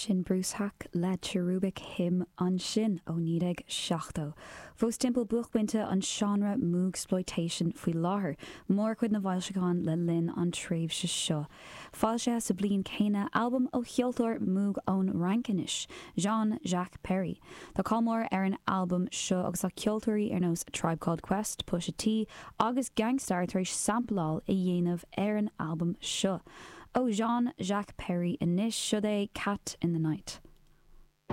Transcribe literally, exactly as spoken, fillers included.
Sin Bruce Haack le Cherubic Hymn ansin ó naoi déag seachtó. Fós timpeall buaicphointe an seánra Moogsploitation faoi láthair, mórchuid na bhfoilseachán le linn an tréimhse seo. Foilsithe sa bliain céanna albam ó cheoltóir Moog ón Fhrainc anois, Jean Jacques Perrey. Tá cáil mór ar an albam seo agus tá ceoltóirí ar nós Tribe Called Quest, Pusha T agus Gang Starr tar éis sampláil a dhéanamh ar an albam seo. Ó Jean Jacques Perrey anois, seo é Cat in the Night.